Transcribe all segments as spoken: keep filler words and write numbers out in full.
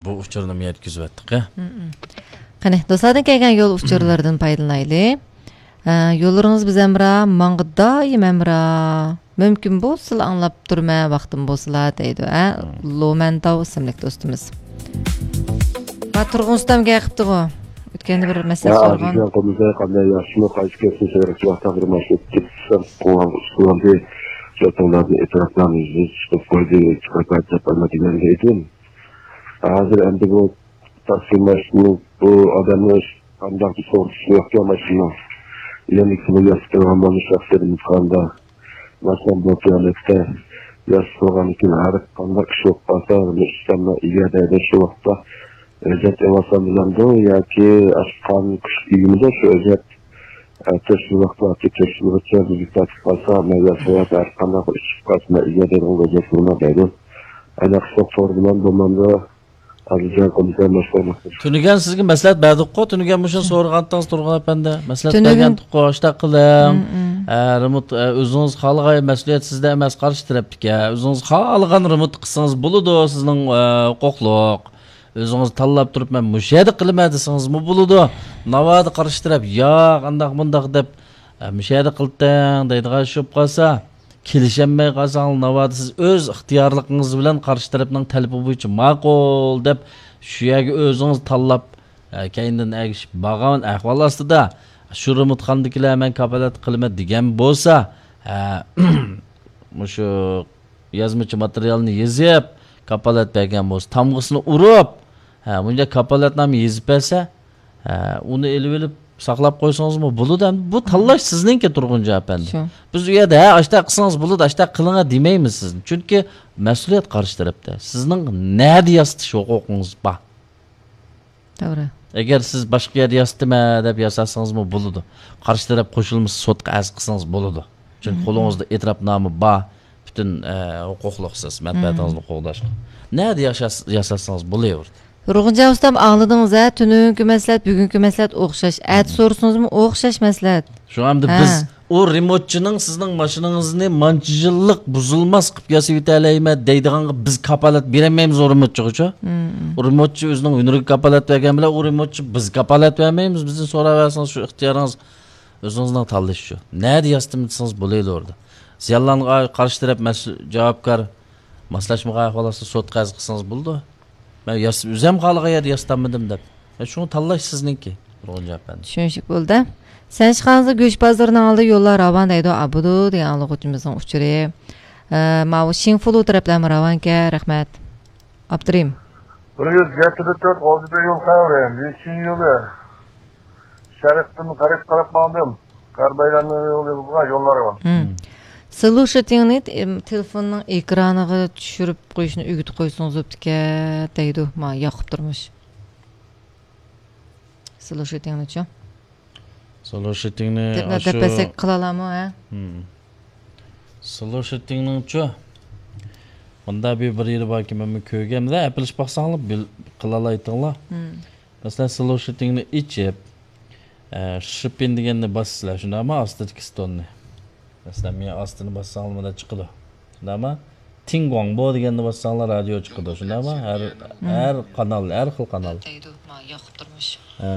بۇ ئۇچۇرنىمۇ يەتكۈزۈۋەتتۇق، ھە. مم. قېنى، دوستلاردىن كەلگەن يول ئۇچۇرلىرىدىن پايدىلىنايلى. ئە، يوللىرىڭىز بىز ھەمراھ، ماڭغا دائىم ھەمراھ. مۇمكىن بولسىلا ئاڭلاپ تۇرىمەن، ۋاقتىم بولسىلا، دەيدۇ، ھە؟ مم. لومەنتاۋ ئىسىملىك دوستىمىز. ھا، تۇرغۇن ئۇستام گەپ قىپتىغۇ. ئۆتكەندە بىر مەسلىھەت يا، سورىغان. ئەزىزجان قۇمۇزاي، قانداق، ياخشىمۇ؟ قايسى كەسىپنى سېغىنىپ ۋاقىتتا بىر ماشىنا ئۆتكۈزۈپ قويغان ئۇسۇلدى. شۇ توڭلاردىن ئېتىراپلارنى يېزىپ چىقىپ قويدى، چىقىپ دەپ ئەمە دېگەن ئىدىم. ھازىر ئەمدى بۇ تاكسى ماشىنىنىڭ بۇ ئادەمنىڭ قانداق بىر سورىشى يوقكەن ماشىنىنىڭ. يەنە كىمگە ياسىتىلغان بولۇش شەخسىيىتىمىز قاندا؟ مەسىلەن، بۇ پىيالەكتە ياسىتىلغاندىن كېيىن ھەر قانداق ئىش بولۇپ قالسا، بۇنى ئىشلەنمە ئىگە دەيدۇ شۇ ۋاقىتتا. ئۆزەت ئېلىۋالسام بولامدۇ ياكى ئاشقان كۈچ ئىگىمىدۇ شۇ ئۆزەت؟ ئەتە شۇ ۋاقىتتا تەكشۈرگۈچى بىزگە تارتىپ قالسا، مەن ياسىۋات ھەر قانداق ئىش چىقىپ قالسا، مەن ئىگە دەيدىغان ئۆزەت بولما دەيدۇ. ئەنە قىسلىق تور بىلەن بولمامدۇ؟ ئەبۇجان قومىسار مەسلىھەت. تۈنۈگۈن سىزگە مەسلىھەت بەردۇققۇ، تۈنۈگۈن مۇشۇنى سورىغانتىڭىز تۇرغۇن ئەپەندى. مەسلىھەت تۈنۈگۈن بەرگەنتۇققۇ، ئاشتاق قىلىڭ. مم، مم. ئە، رېمونت، ئە، ئۆزىڭىز خالىغان مەسئۇلىيەت سىزدە ئەمەس، قارشى تەرەپتىكى. ئۆزىڭىز خالىغان رېمونت قىلسىڭىز بولىدۇ، سىزنىڭ، ئە، ھوقۇقلۇق. ئۆزىڭىز تاللاپ تۇرۇپ، مەن مۇشۇ يەردە قىلىمەن دېسىڭىزمۇ بولىدۇ. ناۋادا قارشى تەرەپ، ياق، ئانداق مۇنداق دەپ، ئە، مۇشۇ يەردە قىلتىڭ دەيدىغان ئىش بولۇپ قالسا، كېلىشەلمەي قالساڭلار، ناۋادا سىز ئۆز ئىختىيارلىقىڭىز بىلەن قارشى تەرەپنىڭ تەلىپى بويىچە ماقۇل دەپ، شۇ يەرگە ئۆزىڭىز تاللاپ، ئە، كەينىدىن ئەگىشىپ بارغان ئەھۋال ئاستىدا، شۇ رېمونتخانىدىكىلەر مەن كاپالەتلىك قىلىمەن دېگەن بولسا، ئە، مۇشۇ يازمىچە ماتېرىيالنى يېزىپ، كاپالەت بەرگەن بولسا، تامغىسىنى ئۇرۇپ، ھە، مۇنچە كاپالەتنامە يېزىپ بەرسە، ھە، ئۇنى ئېلىۋېلىپ ساقلاپ قويسىڭىزمۇ بولىدۇ. ئەمدى بۇ تاللاش سىزنىڭكى، تۇرغۇنجان ئەپەندى. شۇ. بىز ئۇ يەردە، ھە، ئاشتاق قىلسىڭىز بولىدۇ، ئاشتاق قىلىڭا دېمەيمىز سىزنى. چۈنكى مەسئۇلىيەت قارشى تەرەپتە. سىزنىڭ نەدە ياسىتىش ھوقۇقىڭىز بار؟ توغرا. ئەگەر سىز باشقا يەردە ياسىتىمەن دەپ ياساتسىڭىزمۇ بولىدۇ. قارشى تەرەپ قوشۇلمىسا سوتقا ئەرز قىلسىڭىز بولىدۇ. چۈنكى مم، قولىڭىزدا ئېتىراپنامە بار، پۈتۈن، ئە، ھوقۇقلۇقسىز، مەنپەئەتىڭىزنى قوغداشقا. نەدە ياشاس-، ياساتسىڭىز بولۇۋېرىدۇ. تۇرغۇنجان ئۇستام، ئاڭلىدىڭىز ھە، تۈنۈگۈنكى مەسلىھەت، بۈگۈنكى مەسلىھەت ئوخشاش. ئەتە سورىسىڭىزمۇ ئوخشاش مەسلىھەت. شۇڭا ئەمدى ھە. بىز ئۇ رېمونتچىنىڭ سىزنىڭ ماشىنىڭىزنى مانچە يىللىق بۇزۇلماس قىلىپ ياسىۋېتەلەيمەن دەيدىغانغا بىز كاپالەت بېرەلمەيمىز ئۇ رېمونتچىغىچۇ. مم. ئۇ رېمونتچى ئۆزىنىڭ ھۈنىرىگە كاپالەت بەرگەن بىلەن ئۇ رېمونتچى بىز كاپالەت بەرمەيمىز، بىزدىن سوراۋەرسىڭىز شۇ ئىختىيارىڭىز. ئۆزىڭىزنىڭ تاللىشى شۇ. نەدە ياسىتىمەن دېسىڭىز بولىدۇ ئوردا. زىيانلانغان قارشى تەرەپ مەسئۇل، جاۋابكار، ماسلاشمىغان ئەھۋال ئاستىدا سوتقا ئەرز قىلسىڭىز بولىدۇ. مەن ياس-، ئۆزۈم خالىغان يەردە ياسىتالمىدىم دەپ. مەن شۇڭا تاللاش سىزنىڭكى، تۇرغۇنجان ئەپەندى. چۈشىنىشلىك بولدى. سەنشىخانىزدا گۆش بازىرىنىڭ ئالدىدا يوللار راۋان دەيدۇ، ئابىدۇ دېگەن ئاڭلىغۇچىمىزنىڭ ئۇچۇرى. ئە، ماۋۇ شىڭفۇلۇ تەرەپلەرمۇ راۋانكەن، رەھمەت. ئاپترىم. بىر يۈز يەتتە تۆت غازىبە يول خەۋىرى، لىشىن يولى. شەرقتىن غەربكە قاراپ ماڭدىم. غەرب ئايلانما يولى بولغان يوللار بار. مم. سلوشىتىڭنى، ئىم، تېلېفوننىڭ ئېكرانىغا چۈشۈرۈپ قويۇشنى ئۆگىتىپ قويسىڭىز بوپتىكەن، دەيدۇ. ما، ياقۇپ تۇرمۇش. سلوشىتىڭنىچۇ؟ سلوشىتىڭنى دەپ، ئاشۇ دەپ بەرسەك قىلالامۇ، ھە؟ مم. سلوشىتىڭنىڭچۇ؟ مۇندا بىر، بىر يېرى باركى، مەنمۇ كۆرگەن. مۇنداق ئەپلىشىپ باقساڭلار، بىل-، قىلالايتىڭلار. مم. مەسىلەن، سلوشىتىڭنى ئېچىپ، ئە، شىپىن دېگەننى باسىسىلەر، شۇنداقمۇ؟ ئاستىدىكى ستوننى. مەسىلەن، مېنىڭ ئاستىنى باسساڭلار، مۇنداق چىقىدۇ. شۇنداقمۇ؟ تىڭگۇاڭبو دېگەننى باسساڭلار، رادىيو چىقىدۇ. شۇنداقمۇ؟ ھەر، مم. ھەر قانال، ھەر خىل قانال. دەيدۇ، ما، ياقۇپ تۇرمۇش. ھە.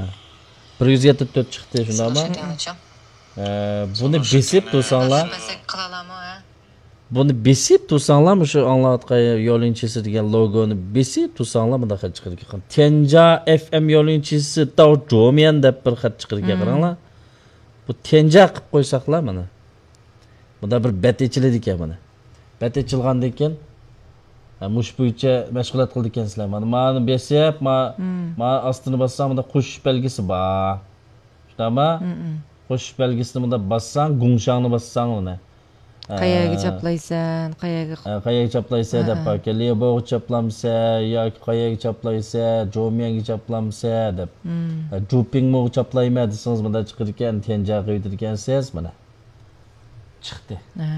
بىر يۈز يەتتە تۆت چىقتى، شۇنداقمۇ؟ ھە، بۇنى بېسىپ تۇرساڭلار. بەرسەك قىلالامۇ، ھە؟ بۇنى بېسىپ تۇرساڭلار، مۇشۇ ئاڭلاۋاتقان يولۇنچىسى دېگەن لوگونى بېسىپ تۇرساڭلار، مۇنداق خەت چىقىدىكەن. تيەنجا ئېف ئېم يولۇنچىسى داۋ جوميەن دەپ بىر خەت چىقىدىكەن، مم. قاراڭلار. بۇ تيەنجا قىلىپ قويساقلا، مانا. مۇندا بىر بەت ئېچىلىدىكەن، مانا. بەت ئېچىلغاندىن كېيىن، ھە، مۇشۇ بويىچە مەشغۇلات قىلىدىكەنسىلەر. مانا، مانى بېسىپ، ما-، مم. ما ئاستىنى باسساڭ، مۇندا قوشۇش بەلگىسى بار. شۇنداقما؟ مم، مم. قوشۇش بەلگىسىنى مۇندا باسساڭ، گۇڭشاڭنى باسساڭ، مانا. قەيەرگە ئە، چاپلايسەن، قەيەرگە ئە، قەيەرگە چاپلايسەن ئە، دەپ ئە. باركەن. ليەبوغا چاپلامسەن ياكى قەيەرگە چاپلايسەن، جوميەنگە چاپلامسەن دەپ. مم. ئە، جۇپىڭموغا چاپلايمەن دېسىڭىز، مۇندا چىقىدىكەن، تيەنجا قىلىۋېتىدىكەنسىز، مانا. چىقتى. ھە،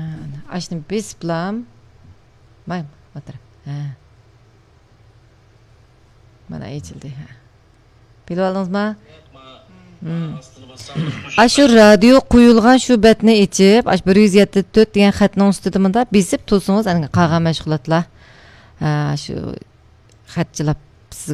ئاشۇنى بېسىپلام. ماي، ئولتۇر. ھە. مانا ئېچىلدى، ھە. بىلىۋالدىڭىزما؟ مم. ئاشۇ رادىيو قويۇلغان شۇ بەتنى ئېچىپ، ئاشۇ بىر يۈز يەتتە تۆت دېگەن خەتنىڭ ئۈستىدە مۇنداق بېسىپ تۇرسىڭىز، ئەنە قالغان مەشغۇلاتلار، ھە، شۇ خەت چىلاپ سىزگە